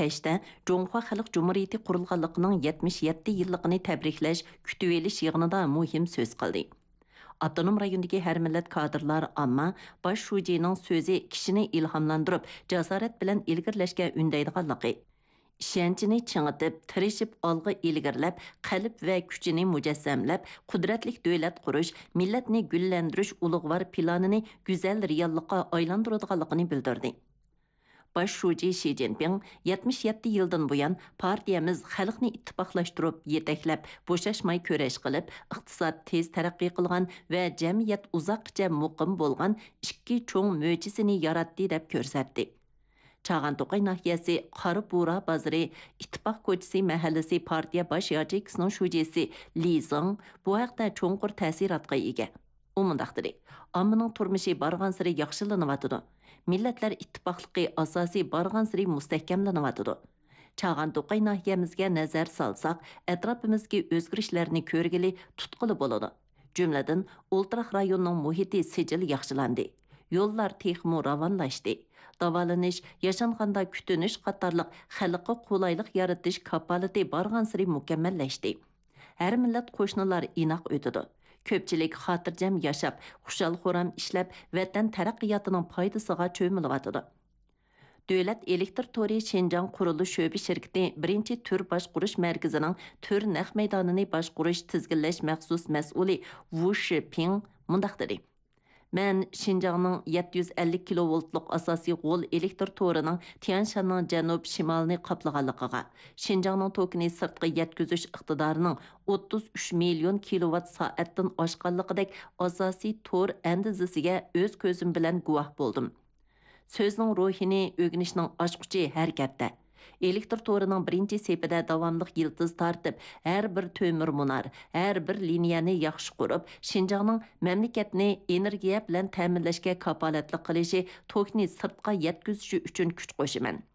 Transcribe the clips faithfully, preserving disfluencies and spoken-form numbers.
كەچتە جۇڭخۇا خەلق جۇمھۇرىيىتى قۇرۇلغانلىقىنىڭ يەتمىش يەتتە يىللىقىنى تەبرىكلەش كۈتۈۋېلىش يىغىنىدا مۇھىم سۆز قىلدى. ئاپتونوم رايوندىكى ھەر مىللەت كادىرلار ئامما باش شۇجىنىڭ سۆزى كىشىنى ئىلھاملاندۇرۇپ، جاسارەت بىلەن ئىلگىرىلەشكە ئۈندەيدىغانلىقى، ئىشەنچىنى چىڭىتىپ، تىرىشىپ ئالغا ئىلگىرىلەپ، قەلب ۋە كۈچىنى مۇجەسسەملەپ، قۇدرەتلىك دۆلەت قۇرۇش، مىللەتنى گۈللەندۈرۈش ئۇلۇغۋار پىلانىنى گۈزەل رېئاللىققا ئايلاندۇرىدىغانلىقىنى بىلدۈردى. باش شۇجى شى جىنپىڭ يەتمىش يەتتە يىلدىن بۇيان پارتىيەمىز خەلقنى ئىتتىپاقلاشتۇرۇپ، يېتەكلەپ، بوشاشماي كۈرەش قىلىپ، ئىقتىساد تېز تەرەققىي قىلغان ۋە جەمئىيەت ئۇزاققىچە مۇقىم بولغان ئىككى چوڭ مۆجىزىنى ياراتتى، دەپ كۆرسەتتى. چاغان توقاي ناھىيەسى قارا بۇرا بازىرى، ئىتتىپاق كوچىسى مەھەللىسى پارتىيە باش ياچېيكىسىنىڭ شۇجىسى لى زېڭ بۇ ھەقتە چوڭقۇر تەسىراتقا ئىگە. ئۇ مۇنداق دېدى: «ئاممىنىڭ تۇرمۇشى بارغانسېرى ياخشىلىنىۋاتىدۇ. مىللەتلەر ئىتتىپاقلىقى ئاساسى بارغانسېرى مۇستەھكەملىنىۋاتىدۇ.» چاغان توقاي ناھىيەمىزگە نەزەر سالساق، ئەتراپىمىزدىكى ئۆزگىرىشلەرنى كۆرگىلى، تۇتقىلى بولىدۇ. جۈملىدىن، ئولتۇراق رايوننىڭ مۇھىتى سىجىل ياخشىلاندى. يوللار تېخىمۇ راۋانلاشتى. داۋالىنىش، ياشانغاندا كۈتۈنۈش قاتارلىق خەلققە قولايلىق يارىتىش كاپالىتى بارغانسېرى مۇكەممەللەشتى. ھەر مىللەت قوشنىلار ئىناق ئۆتىدۇ. كۆپچىلىك خاتىرجەم ياشاپ، خۇشال-خۇرام ئىشلەپ، ۋەتەن تەرەققىياتىنىڭ پايدىسىغا چۆمۈلۈۋاتىدۇ. دۆلەت ئېلېكتىر تورى شىنجاڭ قۇرۇلۇش شۆبە شىركىتى بىرىنچى تۈر باشقۇرۇش مەركىزىنىڭ تۈر نەق مەيدانىنى باشقۇرۇش، تىزگىنلەش مەخسۇس مەسئۇلى ۋۇ شىپىڭ مۇنداق دېدى: «مەن شىنجاڭنىڭ يەتتە يۈز ئەللىك كىلوۋولتلۇق ئاساسىي غول ئېلېكتىر تورىنىڭ تيەنشاننىڭ جەنۇب-شىمالىنى قاپلىغانلىقىغا، شىنجاڭنىڭ توكىنى سىرتقا يەتكۈزۈش ئىقتىدارىنىڭ ئوتتۇز ئۈچ مىليون كىلوۋات سائەتتىن ئاشقانلىقىدەك ئاساسىي تور ئەندىزىسىگە ئۆز كۆزۈم بىلەن گۇۋاھ بولدۇم.» سۆزنىڭ روھىنى ئۆگىنىشنىڭ ئاچقۇچى ھەرىكەتتە. ئېلېكتىر تورىنىڭ بىرىنچى سېپىدە داۋاملىق يىلتىز تارتىپ، ھەر بىر تۆمۈر مۇنار، ھەر بىر لىنىيەنى ياخشى قۇرۇپ، شىنجاڭنىڭ مەملىكەتنى ئېنېرگىيە بىلەن تەمىنلەشكە كاپالەتلىك قىلىشى، توكنى سىرتقا يەتكۈزۈشى ئۈچۈن كۈچ قوشىمەن.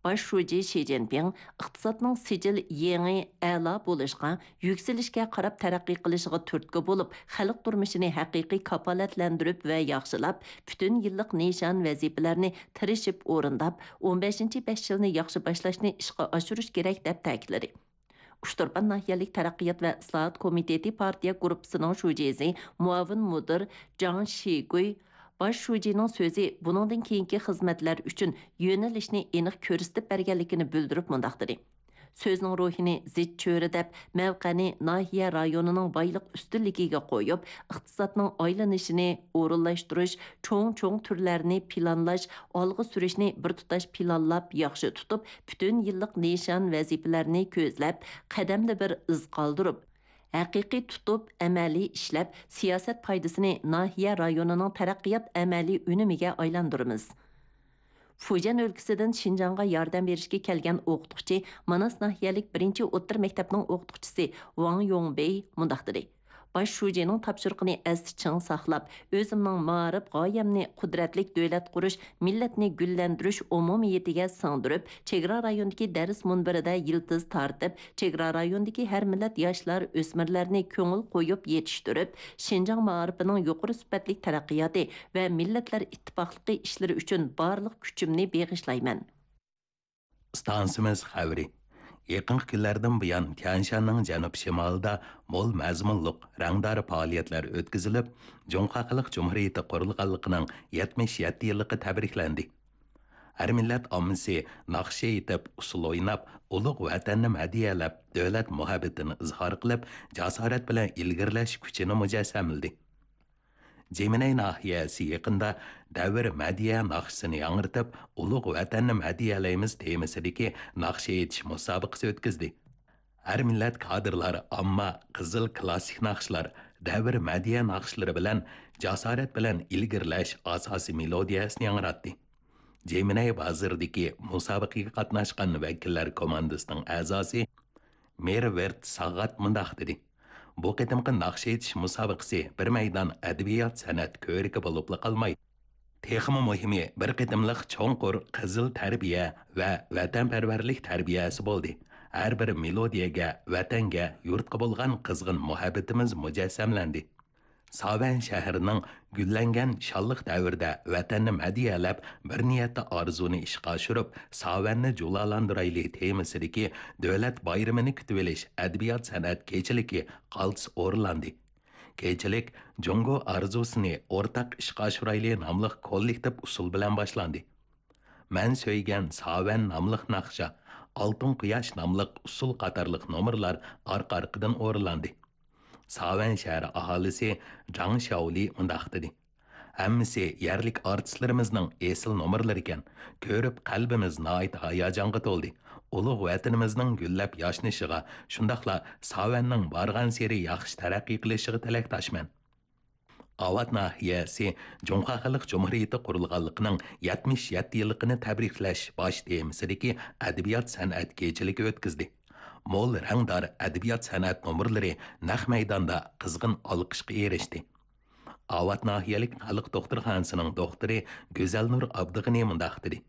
باش شۇجى شى جىنپىڭ ئىقتىسادنىڭ سىجىل يېڭى ئەلا بولۇشقا، يۈكسىلىشكە قاراپ تەرەققىي قىلىشىغا تۈرتكە بولۇپ، خەلق تۇرمۇشىنى ھەقىقىي كاپالەتلەندۈرۈپ ۋە ياخشىلاپ، پۈتۈن يىللىق نىشان، ۋەزىپىلەرنى تىرىشىپ ئورۇنداپ، ئون بەشىنچى بەش يىلنى ياخشى باشلاشنى ئىشقا ئاشۇرۇش كېرەك، دەپ تەكىتلىدى. ئۇچتۇرپان ناھىيەلىك تەرەققىيات ۋە ئىسلاھات كومىتېتى پارتىيە گۇرۇپپىسىنىڭ شۇجىسى، مۇئاۋىن مۇدىر جاڭ شىگۇي باش شۇجىنىڭ سۆزى بۇنىڭدىن كېيىنكى خىزمەتلەر ئۈچۈن يۆنىلىشنى ئېنىق كۆرسىتىپ بەرگەنلىكىنى بىلدۈرۈپ مۇنداق دېدى: «سۆزنىڭ روھىنى زىچ چۆرىدەپ، مەۋقەنى ناھىيە رايونىنىڭ بايلىق ئۈستۈنلۈكىگە قويۇپ، ئىقتىسادنىڭ ئايلىنىشىنى ئورۇنلاشتۇرۇش، چوڭ-چوڭ تۈرلەرنى پىلانلاش، ئالغا سۈرۈشنى بىر تۇتاش پىلانلاپ ياخشى تۇتۇپ، پۈتۈن يىللىق نىشان، ۋەزىپىلەرنى كۆزلەپ، قەدەمدە بىر ئىز قالدۇرۇپ، ھەقىقىي تۇتۇپ، ئەمەلىي ئىشلەپ، سىياسەت پايدىسىنى ناھىيە رايونىنىڭ تەرەققىيات ئەمەلىي ئۈنۈمىگە ئايلاندۇرىمىز.» فۇجيەن ئۆلكىسىدىن شىنجاڭغا ياردەم بېرىشكە كەلگەن ئوقۇتقۇچى، ماناس ناھىيەلىك بىرىنچى ئوتتۇرا مەكتەپنىڭ ئوقۇتقۇچىسى ۋاڭ يوڭبېي مۇنداق دېدى: «باش شۇجىنىڭ تاپشۇرۇقىنى ئەستە چىڭ ساقلاپ، ئۆزۈمنىڭ مائارىپ غايەمنى قۇدرەتلىك دۆلەت قۇرۇش، مىللەتنى گۈللەندۈرۈش ئومۇمىيىتىگە سىڭدۈرۈپ، چېگرا رايونىدىكى دەرس مۇنبىرىدە يىلتىز تارتىپ، چېگرا رايونىدىكى ھەر مىللەت ياشلار، ئۆسمۈرلەرنى كۆڭۈل قويۇپ يېتىشتۈرۈپ، شىنجاڭ مائارىپىنىڭ يۇقىرى سۈپەتلىك تەرەققىياتى ۋە مىللەتلەر ئىتتىپاقلىقى ئىشلىرى ئۈچۈن بارلىق كۈچۈمنى بېغىشلايمەن.» ئىستانسىمىز خەۋىرى. يېقىنقى كۈنلەردىن بۇيان، تيەنشاننىڭ جەنۇب-شىمالىدا مول مەزمۇنلۇق، رەڭدار پائالىيەتلەر ئۆتكۈزۈلۈپ، جۇڭخۇا خەلق جۇمھۇرىيىتى قۇرۇلغانلىقىنىڭ يەتمىش يەتتە يىللىقى تەبرىكلەندى. ھەر مىللەت ئاممىسى ناخشا ئېيتىپ، ئۇسسۇل ئويناپ، ئۇلۇغ ۋەتەننى مەدھىيەلەپ، دۆلەت مۇھەببىتىنى ئىزھار قىلىپ، جاسارەت بىلەن ئىلگىرىلەش كۈچىنى مۇجەسسەملىدى. جىمىنەي ناھىيەسى يېقىندا دەۋر مەدھىيە ناخشىسىنى ياڭرىتىپ، ئۇلۇغ ۋەتەننى مەدھىيەلەيمىز تېمىسىدىكى ناخشا ئېيتىش مۇسابىقىسى ئۆتكۈزدى. ھەر مىللەت كادىرلار ئامما قىزىل كلاسسىك ناخشىلار، دەۋر مەدھىيە ناخشىلىرى بىلەن جاسارەت بىلەن ئىلگىرىلەش ئاساسىي مېلودىيەسىنى ياڭراتتى. جىمىنەي بازىرىدىكى مۇسابىقىگە قاتناشقان ۋەكىللەر كوماندىسىنىڭ ئەزاسى مېرۋېرت ساغات مۇنداق دېدى: «بۇ قېتىمقى ناخشا ئېيتىش مۇسابىقىسى بىر مەيدان ئەدەبىيات-سەنئەت كۆرىكى بولۇپلا قالماي، تېخىمۇ مۇھىمى، بىر قېتىملىق چوڭقۇر قىزىل تەربىيە ۋە ۋەتەنپەرۋەرلىك تەربىيەسى بولدى. ھەر بىر مېلودىيەگە، ۋەتەنگە، يۇرتقا بولغان قىزغىن مۇھەببىتىمىز مۇجەسسەملەندى.» ساۋەن شەھىرىنىڭ گۈللەنگەن شانلىق دەۋرىدە ۋەتەننى مەدھىيەلەپ، بىر نىيەتتە ئارزۇنى ئىشقا ئاشۇرۇپ، ساۋەننى جۇلالاندۇرايلى تېمىسىدىكى دۆلەت بايرىمىنى كۈتۈۋېلىش ئەدەبىيات-سەنئەت كېچىلىكى قالتىس ئورۇنلاندى. كېچىلىك جۇڭگو ئارزۇسىنى ئورتاق ئىشقا ئاشۇرايلى ناملىق كوللېكتىپ ئۇسسۇل بىلەن باشلاندى. مەن سۆيگەن ساۋەن ناملىق ناخشا، ئالتۇن قۇياش ناملىق ئۇسسۇل قاتارلىق نومۇرلار ئارقا-ئارقىدىن ئورۇنلاندى. ساۋەن شەھىرى ئاھالىسى جاڭ شياۋلى مۇنداق دېدى: «ھەممىسى يەرلىك ئارتىسلىرىمىزنىڭ ئېسىل نومۇرلىرىكەن. كۆرۈپ قەلبىمىز ناھايىتى ھاياجانغا تولدى. ئۇلۇغ ۋەتىنىمىزنىڭ گۈللەپ ياشنىشىغا، شۇنداقلا ساۋەننىڭ بارغانسېرى ياخشى تەرەققىي قىلىشىغا تىلەكداشمەن.» ئاۋات ناھىيەسى جۇڭخۇا خەلق جۇمھۇرىيىتى قۇرۇلغانلىقىنىڭ يەتمىش يەتتە يىللىقىنى تەبرىكلەش باش تېمىسىدىكى ئەدەبىيات-سەنئەت كېچىلىكى ئۆتكۈزدى. مول رەڭدار ئەدەبىيات-سەنئەت نومۇرلىرى نەق مەيداندا قىزغىن ئالقىشقا ئېرىشتى. ئاۋات ناھىيەلىك خەلق دوختۇرخانىسىنىڭ دوختۇرى گۈزەلنۇر ئابدىغېنى مۇنداق دېدى: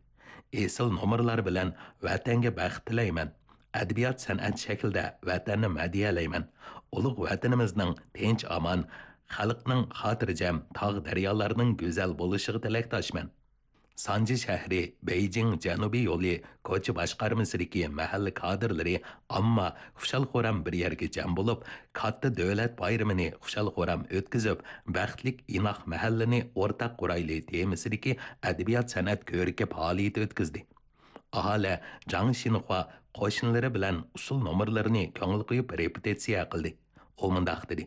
«ئېسىل نومۇرلار بىلەن ۋەتەنگە بەخت تىلەيمەن. ئەدەبىيات-سەنئەت شەكلىدە ۋەتەننى مەدھىيەلەيمەن. ئۇلۇغ ۋەتىنىمىزنىڭ تىنچ-ئامان، خەلقنىڭ خاتىرجەم، تاغ-دەريالارنىڭ گۈزەل بولۇشىغا تىلەكداشمەن.» سانجى شەھىرى بېيجىڭ جەنۇبىي يولى كوچا باشقارمىسىدىكى مەھەللە كادىرلىرى ئامما خۇشال-خۇرام بىر يەرگە جەم بولۇپ، كاتتا دۆلەت بايرىمىنى خۇشال-خۇرام ئۆتكۈزۈپ، بەختلىك ئىناق مەھەللىنى ئورتاق قۇرايلى تېمىسىدىكى ئەدەبىيات-سەنئەت كۆرىكى پائالىيىتى ئۆتكۈزدى. ئاھالە جاڭ شىنخۇا قوشنىلىرى بىلەن ئۇسسۇل نومۇرلىرىنى كۆڭۈل قويۇپ رېپېتىتسىيە قىلدى. ئۇ مۇنداق دېدى: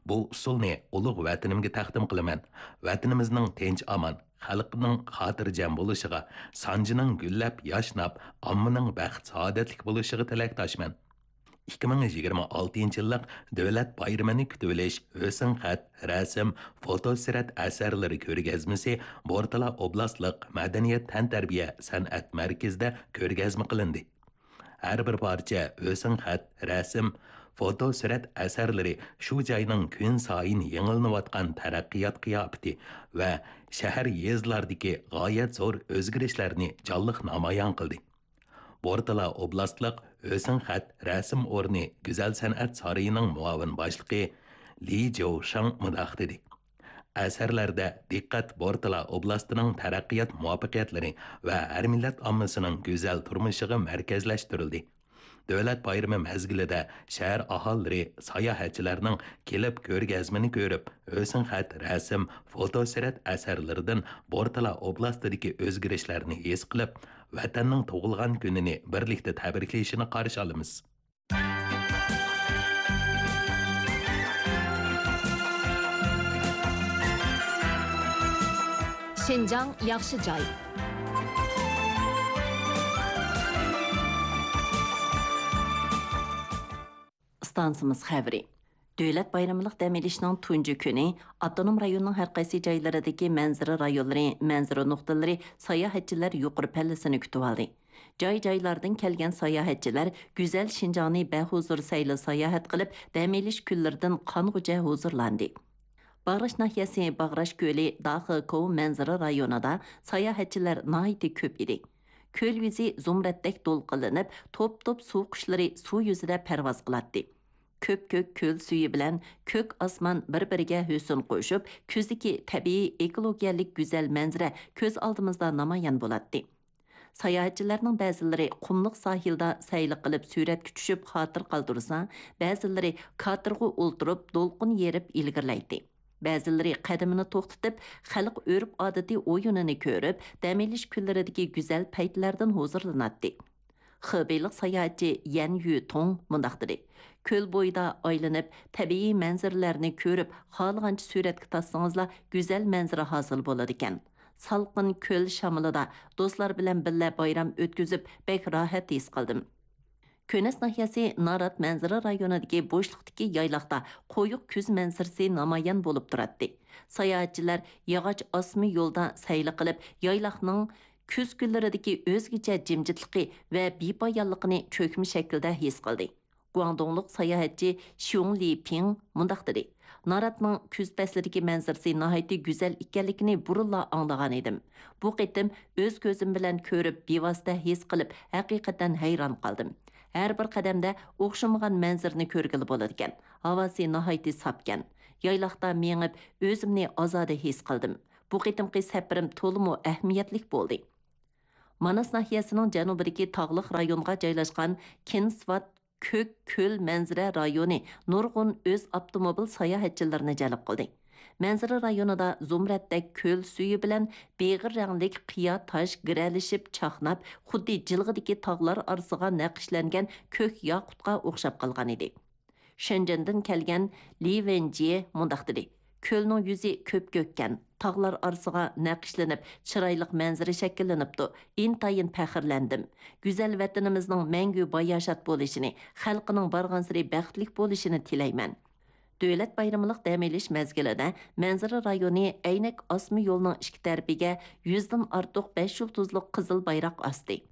«بۇ ئۇسسۇلنى ئۇلۇغ ۋەتىنىمگە تەقدىم قىلىمەن. ۋەتىنىمىزنىڭ تىنچ-ئامان، خەلقنىڭ خاتىرجەم بولۇشىغا، سانجىنىڭ گۈللەپ ياشناپ، ئاممىنىڭ بەخت-سائادەتلىك بولۇشىغا تىلەكداشمەن.» ئىككى مىڭ يىگىرمە ئالتىنچى يىللىق دۆلەت بايرىمىنى كۈتۈۋېلىش ھۆسنخەت، رەسىم، فوتوسۈرەت ئەسەرلىرى كۆرگەزمىسى بورتالا ئوبلاستلىق مەدەنىيەت تەنتەربىيە سەنئەت مەركىزىدە كۆرگەزمە قىلىندى. ھەر بىر پارچە ھۆسنخەت، رەسىم، فوتوسۈرەت ئەسەرلىرى شۇ جاينىڭ كۈنسايىن يېڭىلىنىۋاتقان تەرەققىيات قىياپىتى ۋە شەھەر، يېزىلاردىكى غايەت زور ئۆزگىرىشلەرنى جانلىق نامايان قىلدى. بورتالا ئوبلاستلىق ھۆسنخەت رەسىم ئورنى گۈزەل سەنئەت سارىيىنىڭ مۇئاۋىن باشلىقى لى جياۋشاڭ مۇنداق دېدى: «ئەسەرلەردە دىققەت بورتالا ئوبلاستىنىڭ تەرەققىيات مۇۋەپپەقىيەتلىرى ۋە ھەر مىللەت ئاممىسىنىڭ گۈزەل تۇرمۇشىغا مەركەزلەشتۈرۈلدى. دۆلەت بايرىمى مەزگىلىدە شەھەر ئاھالىلىرى، ساياھەتچىلەرنىڭ كېلىپ كۆرگەزمىنى كۆرۈپ، ھۆسنخەت رەسىم، فوتوسۈرەت ئەسەرلىرىدىن بورتالا ئوبلاستىدىكى ئۆزگىرىشلەرنى ھېس قىلىپ، ۋەتەننىڭ تۇغۇلغان كۈنىنى بىرلىكتە تەبرىكلىشىنى قارشى ئالىمىز.» شىنجاڭ ياخشى جاي. ئىستانسىمىز خەۋىرى. دۆلەت بايرىملىق دەم ئېلىشنىڭ تۇنجى كۈنى ئاپتونوم رايوننىڭ ھەر قايسى جايلىرىدىكى مەنزىرە رايونلىرى، مەنزىرە نۇقتىلىرى ساياھەتچىلەر يۇقىرى پەللىسىنى كۈتۈۋالدى. جاي-جايلاردىن كەلگەن ساياھەتچىلەر گۈزەل شىنجاڭنى بەھۇزۇر سەيلە ساياھەت قىلىپ، دەم ئېلىش كۈنلىرىدىن قانغۇچە ھۇزۇرلاندى. باغراش ناھىيەسى باغراش كۆلى داخېكوۋ مەنزىرە رايونىدا ساياھەتچىلەر ناھايىتى كۆپ ئىدى. كۆل يۈزى زۇمرەتتەك دولقۇنلىنىپ، توپ-توپ سۇ قۇشلىرى سۇ يۈزىدە پەرۋاز قىلاتتى. كۆپكۆك كۆل سۈيى بىلەن كۆك ئاسمان بىر-بىرىگە ھۆسن قوشۇپ، كۈزدىكى تەبىئىي ئېكولوگىيەلىك گۈزەل مەنزىرە كۆز ئالدىمىزدا نامايان بولاتتى. ساياھەتچىلەرنىڭ بەزىلىرى قۇملۇق ساھىلدا سەيلە قىلىپ سۈرەتكە چۈشۈپ خاتىرە قالدۇرسا، بەزىلىرى كاتېرغا ئولتۇرۇپ دولقۇن يېرىپ ئىلگىرىلەيتتى. بەزىلىرى قەدىمىنى توختىتىپ، خەلق ئۆرپ-ئادىتى ئويۇنىنى كۆرۈپ، دەم ئېلىش كۈنلىرىدىكى گۈزەل پەيتلەردىن ھۇزۇرلىناتتى. خېبېيلىق ساياھەتچى يەن يۈتۇڭ مۇنداق دېدى: «كۆل بويىدا ئايلىنىپ، تەبىئىي مەنزىرىلەرنى كۆرۈپ، خالىغانچە سۈرەتكە تارتسىڭىزلا، گۈزەل مەنزىرە ھاسىل بولىدىكەن. سالقىن كۆل شامىلىدا دوستلار بىلەن بىللە بايرام ئۆتكۈزۈپ، بەك راھەت ھېس قىلدىم.» كۆنەس ناھىيەسى نارات مەنزىرە رايونىدىكى بوشلۇقتىكى يايلاقتا قويۇق كۈز مەنزىرىسى نامايان بولۇپ تۇراتتى. ساياھەتچىلەر ياغاچ ئاسما يولدا سەيلە قىلىپ، يايلاقنىڭ كۈز كۈنلىرىدىكى ئۆزگىچە جىمجىتلىقى ۋە بىپايانلىقىنى چۆكمە شەكىلدە ھېس قىلدى. گۇاڭدۇڭلۇق ساياھەتچى شيۇڭ لىپىڭ مۇنداق دېدى: «ناراتنىڭ كۈز پەسلىدىكى مەنزىرىسى ناھايىتى گۈزەل ئىكەنلىكىنى بۇرۇنلا ئاڭلىغانىدىم. بۇ قېتىم ئۆز كۆزۈم بىلەن كۆرۈپ، بىۋاسىتە ھېس قىلىپ، ھەقىقەتەن ھەيران قالدىم. ھەر بىر قەدەمدە ئوخشىمىغان مەنزىرىنى كۆرگىلى بولىدىكەن. ھاۋاسى ناھايىتى ساپكەن. يايلاقتا مېڭىپ، ئۆزۈمنى ئازادە ھېس قىلدىم. بۇ قېتىمقى سەپىرىم تولىمۇ ئەھمىيەتلىك بولدى. ماناس ناھىيەسىنىڭ جەنۇبىدىكى تاغلىق رايونغا جايلاشقان كېنسۋات كۆك كۆل مەنزىرە رايونى نۇرغۇن ئۆز ئاپتوموبىل ساياھەتچىلىرىنى جەلپ قىلدى. مەنزىرە رايونىدا زۇمرەتتەك كۆل سۈيى بىلەن بېغىر رەڭلىك قىيا تاش گىرەلىشىپ چاقناپ، خۇددى جىلغىدىكى تاغلار ئارىسىغا نەقىشلەنگەن كۆك ياقۇتقا ئوخشاپ قالغانىدى. شېنجېندىن كەلگەن لى ۋېنجيې مۇنداق دېدى: «كۆلنىڭ يۈزى كۆپكۆككەن، تاغلار ئارىسىغا نەقىشلىنىپ، چىرايلىق مەنزىرە شەكىللىنىپتۇ. ئىنتايىن پەخىرلەندىم. گۈزەل ۋەتىنىمىزنىڭ مەڭگۈ باياشات بولۇشىنى، خەلقىنىڭ بارغانسېرى بەختلىك بولۇشىنى تىلەيمەن.» دۆلەت بايرىملىق دەم ئېلىش مەزگىلىدە مەنزىرە رايونى ئەينەك ئاسما يولنىڭ ئىككى تەرىپىگە يۈزدىن ئارتۇق بەش يۇلتۇزلۇق قىزىل بايراق ئاستى.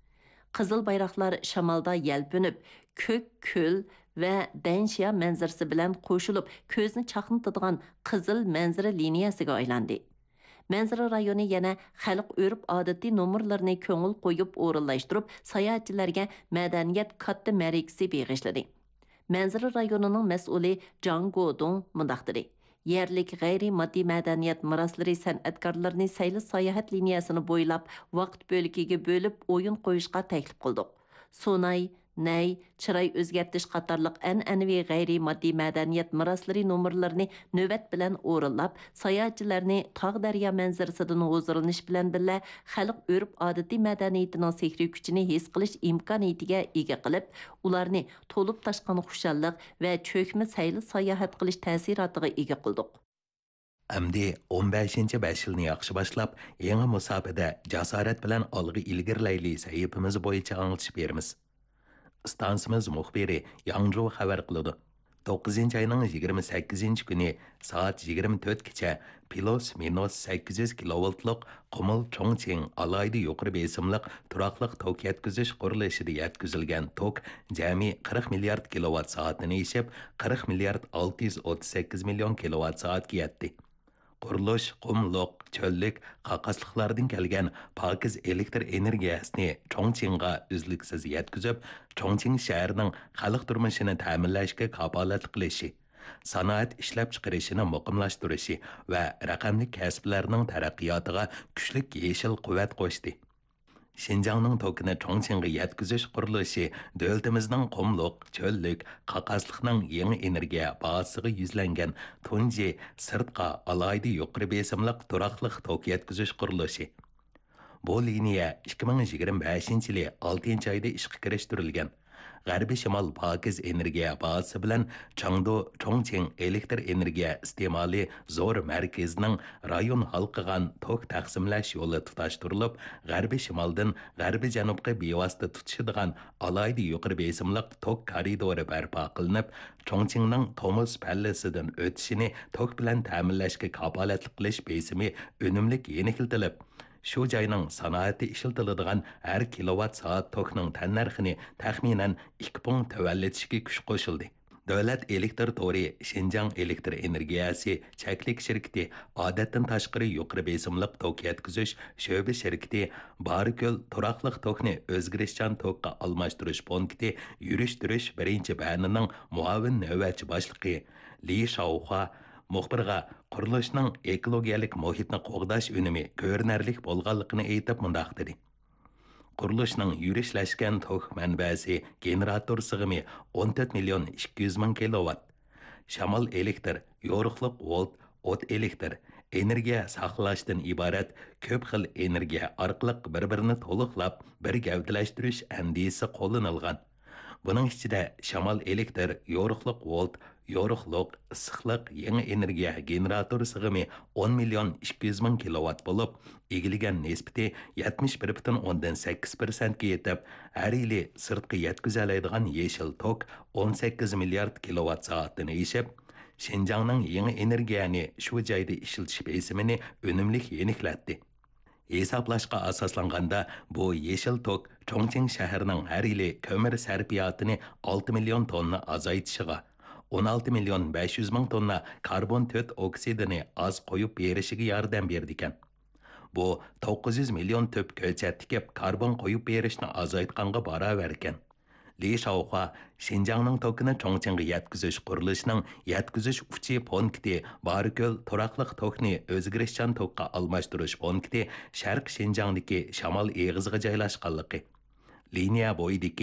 قىزىل بايراقلار شامالدا يەلپۈنۈپ، كۆك كۆل ۋە دەنشيا مەنزىرىسى بىلەن قوشۇلۇپ، كۆزنى چاقنىتىدىغان قىزىل مەنزىرە لىنىيەسىگە ئايلاندى. مەنزىرە رايونى يەنە خەلق ئۆرپ-ئادىتى نومۇرلىرىنى كۆڭۈل قويۇپ ئورۇنلاشتۇرۇپ، ساياھەتچىلەرگە مەدەنىيەت كاتتا مەرىكىسى بېغىشلىدى. مەنزىرە رايونىنىڭ مەسئۇلى جاڭ گودۇڭ مۇنداق دېدى: «يەرلىك غەيرىي ماددىي مەدەنىيەت مىراسلىرى سەنئەتكارلىرىنى سەيلە ساياھەت لىنىيەسىنى بويلاپ ۋاقىت بۆلىكىگە بۆلۈپ ئويۇن قويۇشقا تەكلىپ قىلدۇق. سۇناي، نەي، چىراي ئۆزگەرتىش قاتارلىق ئەنئەنىۋى غەيرىي ماددىي مەدەنىيەت مىراسلىرى نومۇرلىرىنى نۆۋەت بىلەن ئورۇنلاپ، ساياھەتچىلەرنى تاغ-دەريا مەنزىرىسىدىن ھۇزۇرلىنىش بىلەن بىللە، خەلق ئۆرپ-ئادىتى مەدەنىيىتىنىڭ سېھرىي كۈچىنى ھېس قىلىش ئىمكانىيىتىگە ئىگە قىلىپ، ئۇلارنى تولۇپ تاشقان خۇشاللىق ۋە چۆكمە سەيلە ساياھەت قىلىش تەسىراتىغا ئىگە قىلدۇق.» ئەمدى ئون بەشىنچى بەش يىلنى ياخشى باشلاپ، يېڭى مۇساپىدە جاسارەت بىلەن ئالغا ئىلگىرىلەيلى سەھىپىمىز بويىچە ئاڭلىتىش بېرىمىز. ئىستانسىمىز مۇخبىرى ياڭجۇ خەۋەر قىلىدۇ. توققۇزىنچى ئاينىڭ يىگىرمە سەككىزىنچى كۈنى سائەت يىگىرمە تۆتكىچە پىلۇس مىنۇس سەككىز يۈز كىلوۋولتلۇق قۇمۇل چۇڭچىڭ ئالاھىدە يۇقىرى بېسىملىق تۇراقلىق توك يەتكۈزۈش قۇرۇلۇشىدا يەتكۈزۈلگەن توك جەمئىي قىرىق مىليارد كىلوۋات سائەتتىن ئېشىپ، قىرىق مىليارد ئالتە يۈز ئوتتۇز سەككىز مىليون كىلوۋات سائەتكە يەتتى. قۇرۇلۇش قۇملۇق، چۆللۈك، قاقاسلىقلاردىن كەلگەن پاكىز ئېلېكتر ئېنېرگىيەسىنى چۇڭچىڭغا ئۈزلۈكسىز يەتكۈزۈپ، چۇڭچىڭ شەھىرىنىڭ خەلق تۇرمۇشىنى تەمىنلەشكە كاپالەتلىك قىلىشى، سانائەت ئىشلەپچىقىرىشىنى مۇقىملاشتۇرۇشى ۋە رەقەملىك كەسىپلەرنىڭ تەرەققىياتىغا كۈچلۈك يېشىل قۇۋۋەت قوشتى. شىنجاڭنىڭ توكىنى چۇڭچىڭغا يەتكۈزۈش قۇرۇلۇشى دۆلىتىمىزنىڭ قۇملۇق، چۆللۈك، قاقاسلىقنىڭ يېڭى ئېنېرگىيە بازىسىغا يۈزلەنگەن تۇنجى سىرتقا ئالاھىدە يۇقىرى بېسىملىق تۇراقلىق توك يەتكۈزۈش قۇرۇلۇشى. بۇ لىنىيە ئىككى مىڭ يىگىرمە بەشىنچى يىلى ئالتىنچى ئايدا ئىشقا كىرىشتۈرۈلگەن. غەربىي شىمال پاكىز ئېنېرگىيە بازىسى بىلەن چاڭدۇ چۇڭچىڭ ئېلېكتر ئېنېرگىيە ئىستېمالى زور مەركىزىنىڭ رايون ھالقىغان توك تەقسىملەش يولى تۇتاشتۇرۇلۇپ، غەربىي شىمالدىن غەربىي جەنۇبقا بىۋاسىتە تۇتىشىدىغان ئالاھىدە يۇقىرى بېسىملىق توك كارىدورى بەرپا قىلىنىپ، چۇڭچىڭنىڭ تومۇز پەللىسىدىن ئۆتۈشىنى توك بىلەن تەمىنلەشكە كاپالەتلىك قىلىش بېسىمى ئۈنۈملۈك يېنىكلىتىلىپ، شۇ جاينىڭ سانائەتتە ئىشلىتىلىدىغان ھەر كىلوۋات سائەت توكنىڭ تەننەرخىنى تەخمىنەن ئىككى پۇڭ تۆۋەنلىتىشكە كۈچ قوشۇلدى. دۆلەت ئېلېكتر تورى شىنجاڭ ئېلېكتر ئېنېرگىيەسى چەكلىك شىركىتى، ئادەتتىن تاشقىرى يۇقىرى بېسىملىق توك يەتكۈزۈش شۆبە شىركىتى، بارىكۆل تۇراقلىق توكنى ئۆزگىرىشچان توكقا ئالماشتۇرۇش پونكىتى يۈرۈشتۈرۈش بىرىنچى بەنىنىڭ مۇئاۋىن نۆۋەتچى باشلىقى لى شاۋخۇا مۇخبىرغا قۇرۇلۇشنىڭ ئېكولوگىيەلىك مۇھىتنى قوغداش ئۈنۈمى كۆرۈنەرلىك بولغانلىقىنى ئېيتىپ مۇنداق دېدى: قۇرۇلۇشنىڭ يۈرۈشلەشكەن توك مەنبەسى گېنېراتور سىغىمى ئون تۆت مىليون ئىككى يۈز مىڭ كىلوۋات. شامال ئېلېكتر، يورۇقلۇق ۋولت، ئوت ئېلېكتر، ئېنېرگىيە ساقلاشتىن ئىبارەت كۆپ خىل ئېنېرگىيە ئارقىلىق بىر-بىرىنى تولۇقلاپ، بىر گەۋدىلەشتۈرۈش ئەندىزىسى قوللىنىلغان. بۇنىڭ ئىچىدە شامال ئېلېكتر، يورۇقلۇق ۋولت، يورۇقلۇق، ئىسسىقلىق، يېڭى ئېنېرگىيە گېنېراتور سىغىمى ئون مىليون ئىككى يۈز مىڭ كىلوۋات بولۇپ، ئىگىلىگەن نىسبىتى يەتمىش بىر پۈتۈن ئوندىن سەككىز پىرسەنتكە يېتىپ، ھەر يىلى سىرتقا يەتكۈزەلەيدىغان يېشىل توك ئون سەككىز مىليارد كىلوۋات سائەتتىن ئېشىپ، شىنجاڭنىڭ يېڭى ئېنېرگىيەنى شۇ جايدا ئىشلىتىش بېسىمىنى ئۈنۈملۈك يېنىكلەتتى. ھېسابلاشقا ئاساسلانغاندا، بۇ يېشىل توك چۇڭچىڭ شەھىرىنىڭ ھەر يىلى كۆمۈر سەرپىياتىنى ئالتە مىليون توننا ئازايتىشىغا، ئون ئالتە مىليون بەش يۈز مىڭ توننا كاربون تۆت ئوكسىدىنى ئاز قويۇپ بېرىشىگە ياردەم بېرىدىكەن. بۇ توققۇز يۈز مىليون تۈپ كۆچەت تىكىپ، كاربون قويۇپ بېرىشنى ئازايتقانغا باراۋەركەن. لى شاۋخۇا شىنجاڭنىڭ توكىنى چۇڭچىڭغا يەتكۈزۈش قۇرۇلۇشىنىڭ يەتكۈزۈش ئۇچى پونكىتى، بارىكۆل تۇراقلىق توكنى ئۆزگىرىشچان توكقا ئالماشتۇرۇش پونكىتى، شەرقىي شىنجاڭدىكى شامال ئېغىزىغا جايلاشقانلىقى، لىنىيە بويىدىكى